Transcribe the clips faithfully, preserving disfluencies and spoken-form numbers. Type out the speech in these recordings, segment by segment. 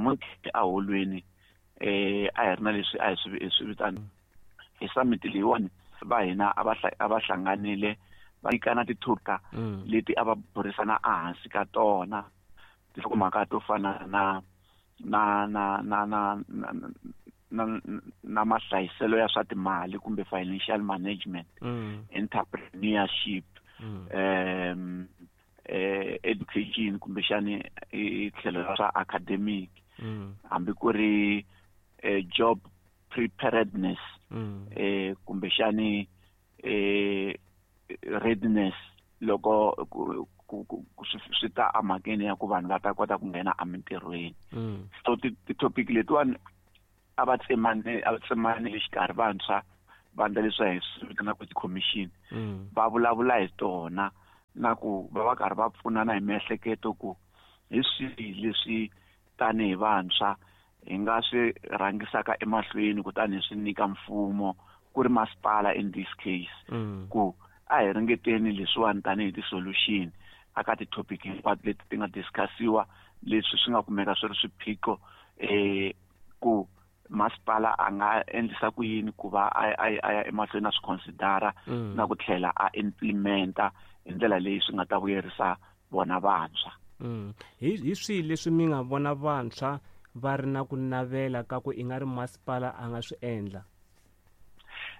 Namuntlha eholweni eh a hi ri na leswi a hi swi hi swi vitana hi summit leyiwani, va hina a va a va hlanganile va nyikana tithoka leti a va burisana ehansi ka tona, tinhlokomhaka to fana na na na na na na na na mahlayiselo ya swa timali kumbe financial management, Mm. entrepreneurship, Mm. um eh education kumbexani i tlhelo ra swa academic, Mm. hambi ku ri eh, job preparedness, Mm. eh kumbexani eh readiness loko ku ku ku swi swi ta emhakeni ya ku vanhu va ta kota ku nghena emintirhweni. Mm. So ti ti-topic letiwani a va tsemane a va tsemane exikarhi vantshwa va endla leswi hi swi vitanaka ti-commission, Mm. va vulavula hi tona na ku va va karhi va pfunana hi miehleketo ku hi swihi leswi tanihi vantshwa hi nga swi rhangisaka emahlweni kutani hi swi nyika mfumo ku ri masipala in this case, Mm. ku a hi ringeteni leswiwani tanihi ti-solution aka ti-topic hinkwato leti ti nga discussiwa, leswi swi nga kumeka swi ri swiphiqo, eh ku masipala a nga endlisa ku yini ku va a a a ya emahlweni a swi considera Mm. na ku tlhela a implementa hi ndlela leyi swi nga ta vuyerisa vona vantshwa. Mm. Hi hi swihi leswi mi nga vona vantshwa va ri na ku navela ka ku i nga ri masipala a nga swi endla?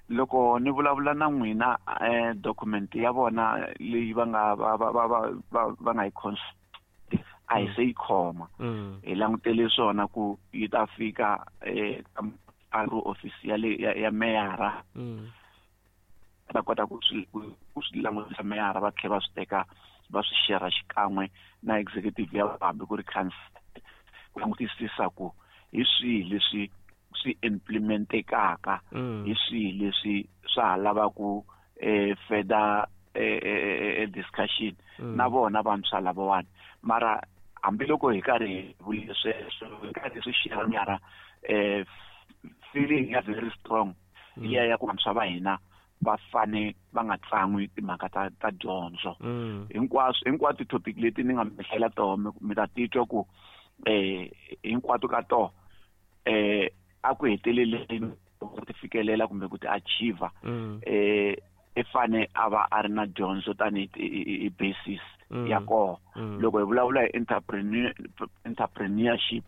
Loko ni vulavula na n'wina, eh document ya vona leyi va nga va va va va va va nga yi cons a hi se yi khoma. Mm. Hi langutele swona ku yi ta fika eh ka office ya le ya, ya meyara, Mm. va kota ku swi ku swi langutisa meyara, va tlhela va swi teka va swi share xikan'we na executive ya hambi ku ri council ku langutisisa ku hi swihi leswi swi implementekaka, Mm. hi swihi leswi swa ha lavaku eh further eh, eh, eh, discussion Mm. na vona vantshwa lavawani. Mara hambiloko hi karhi hi vule sweswo, hi karhi swi share mara eh feeling ya very strong liya ya ku vantshwa va hina va fane va nga tsan'wi timhaka ta ta dyondzo. Mm. Hinkwaswo hinkwato ti-topic leti ni nga mi hlayela toho, mi mi ta titwa ku eh hinkwato ka toho eh a ku heteleleni ku ti fikelela kumbe ku ti achieve, Mm. eh i fane a va a ri na dyondzo tanihi hi basis Mm. ya kona. Mm. Loko hi vulavula hi entrepreneur entrepreneurship,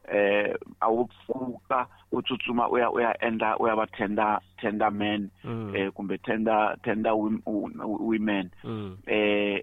eh a wu pfuka u tsutsuma u ya u ya endla u ya va tender tender man, Mm. eh kumbe tender tender women, Mm. eh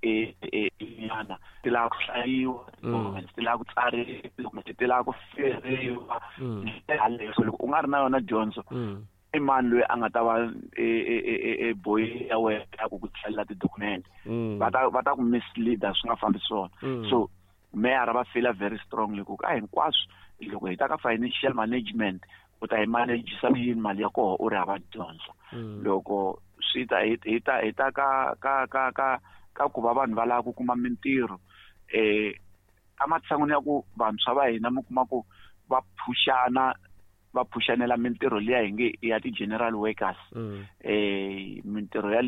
e e nyana ti lava ku hlayiwa, Mm. ti lava ku tsariwa, kumbe ti lava ku feriwa. Mm. Yaleyo, so loko u nga ri na yona dyondzo, Mm. i mani loyi a nga ta va e e e e boy ya wena ya ku ku tlhelela ti-document? Mm. Va ta va ta ku mislead-a, swi nga fambi swona. Mm. So meyara va feel very strongly ku a hinkwaswo loko hi ta ka financial management, u ta yi managisa ku yini mali ya koho u ri hava dyondzo? Mm. Loko swi ta hi hi ta hi ta ka ka ka ka ka ku va vanhu va lava ku kuma mintirho, eh ematshan'wini ya ku vantshwa va hina mi kuma ku va phuxana va phuxanela mintirho liya hi nge i ya ti-general workers, Mm. eh mintirho ya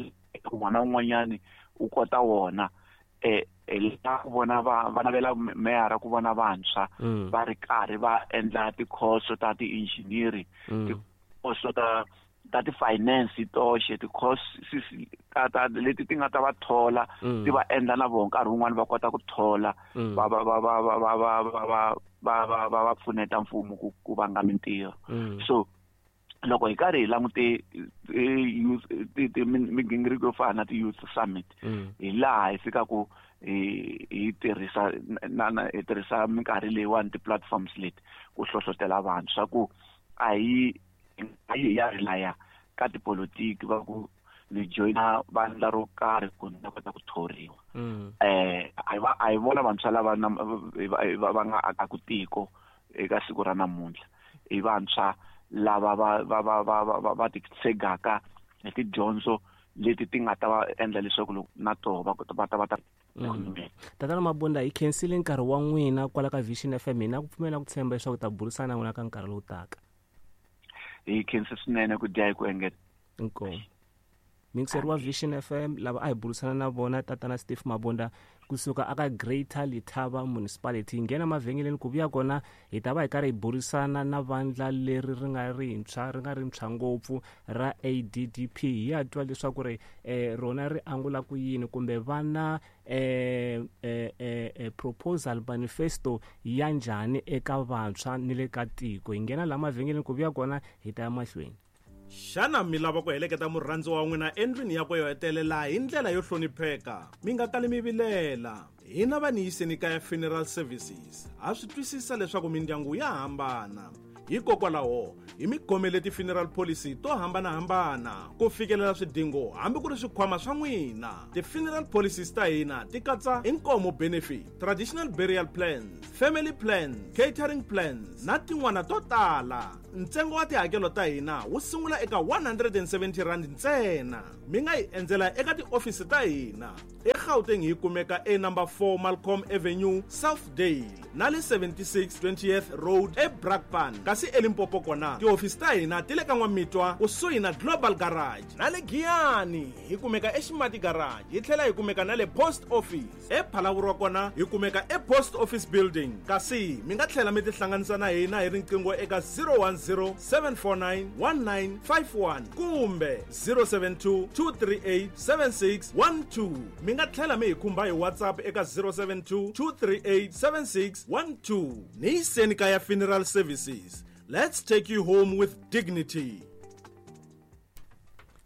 un'wana na un'wanyani u kota wona, eh hi lava ku vona va va navela meyara ku vona vantshwa Mm. va ri karhi va endla tikhoso ta ti-engineering, Mm. tikhoso ta ta ti-finance toxe, ti-course ta ta leti ti nga ta va thola, Mm. ti va endla na vona nkarhi wun'wani va kota ku thola, Mm. va va va va va va va va va va va va va pfuneta mfumo ku ku vanga mintirho. Mm. So loko hi karhi hi langute youth ti ti migingiriko yo fana na ti-youth summit, Mm. hi laha hi fikaku hi hi tirhisa na na hi tirhisa minkarhi leyiwani ti-platforms leti ku hlohlotela vantshwa ku a hi a hi ya relaya ka tipolotiki va ku ni joyina vandla ro karhi ku ni ta kota ku thoriwa. Mm. Eh a hi va a hi vona vantshwa lava na va va nga akaku tiko eka siku ra namuntlha, i vantshwa lava va va va va va va va titshegaka hi tidyondzo leti ti nga ta va endla leswaku loko na toho va kota va ta va ta Mm. Tatana Mabunda, hi khensile nkarhi wa n'wina kwala ka Vision F M. Hina ku pfumela ku tshemba leswaku ta burisana na n'wina ka nkarhi lowu taka. Hi khensa swinene ku dya hi ku engeta. Inkomu. Mixer wa Vision F M lava a hi burisana na vona tatana Steve Mabunda kusuka aka Greater Letaba Municipality. Nghena mavhengeleni ku vuya kona hi ta va hi karhi hi burisana na vandla leri ri nga rintshwa ri nga rintshwa ngopfu ra A D D P. Hi ya twa leswaku ri eh, rona ri angula ku yini kumbe vana eh, eh, eh, proposal manifesto ya njhani eka vantshwa ni le ka tiko. Hi nghena la mavhengeleni ku vuya kona hi ta ya mahlweni. Xana mi lava ku heleketa murhandzi wa n'wina endlwini yakwe yo hetelela hi ndlela yo hlonipheka? Mi nga kali mi vilela. Hina va Niyiseni Kaya Funeral Services ha swi twisisa leswaku mindyangu ya hambana. Hikokwalaho hi mi khomele ti-funeral policy to hambanahambana ku fikelela swidingo hambi ku ri swikhwama swa n'wina. Ti-funeral policies ta hina ti katsa inkomo benefit, traditional burial plans, family plans, catering plans na tin'wana to tala. Ntsengo wa tihakelo ta hina wu sungula eka one hundred and seventy rand ntsena. Mi nga hi endzela eka tiofisi ta hina eGauteng hi kumeka e number four Malcolm Avenue, Southdale na le seventy-six twentieth Road eBrakpan. Kasi eLimpopo kona tiofisi ta hina ti le ka N'wamitwa kusuhi na Global Garage na le Giyani hi kumeka eXimati Garage, hi tlhela hi kumeka na le Post Office. ePhalaborwa kona hi kumeka ePost Office Building. Kasi mi nga tlhela mi tihlanganisa na hina hi riqingho eka zero one zero seven four nine one nine five one kumbe zero seven two two three eight seven six one two. Mi nga tlhela mi hi khumba hi WhatsApp eka zero seven two two three eight seven six one two. Niyiseni Kaya Funeral Services. Let's take you home with dignity.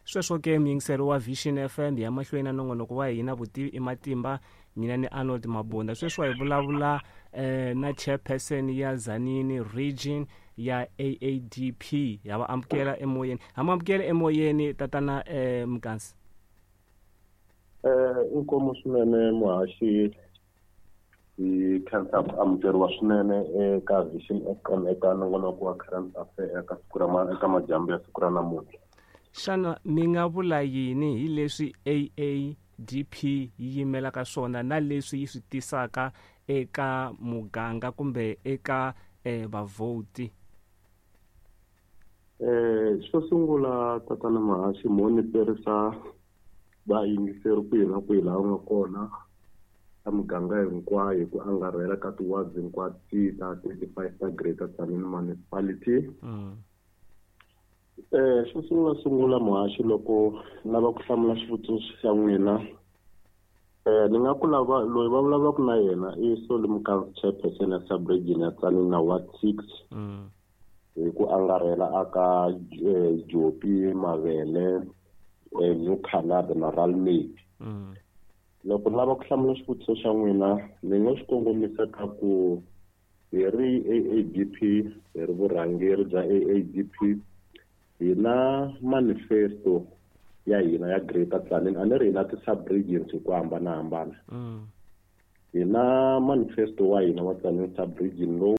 Sweswo ke muyingiseri wa Vision F M ya mahlweni na nongonoko wa hina vutivi i matimba, mina ni Arnold Mabunda. Sweswo hi vulavula eh, na chairperson ya Tzaneen region ya A A D P. Ya va amukela emoyeni. Ha mu amukela emoyeni tatana eh, Mkansi. Eh, inkomo swinene muhaxi, hi khensa ku amukeriwa swinene eka Vision F M eka nongonoko wa Current Affairs eka siku ra eka madyambu ya siku ra namuntlha. Xana mi nga vula yini hi leswi A A D P yi yimelaka swona na leswi yi swi tisaka eka muganga kumbe eka eh, vavhoti? Eh, xo sungula tatana Mahaxi, mo ni perisa vayingiseri kwihi na kwihi laha u nga kona ka muganga hinkwayo hi ku angarhela ka ti-wards hinkwato ta thirty-five ta Greater Tzaneen Municipality. Mm. Eh, xo sungula sungula muhaxi, loko lava ku hlamula xivutiso xa n'wina, eh ni nga ku lava loyi va vulavulaka na yena i Solly Mkansi, chairperson ya sub-region ya Tzaneen na Ward six. Mm. Hi ku angarhela aka Jopi, Mavele, New Canada na Ralmate. Mm. Loko lava ku hlamula xivutiso xa n'wina, ni nga xi kongomisa ka ku hi ri A A D P, hi ri vurhangeri bya A A D P, hi na manifesto ya hina ya Greater Tzaneen. A ni ri hi na ti-sub-regions hi ku hambanahambana. Mm. Hi na manifesto wa hina wa Tzaneen sub-region lowu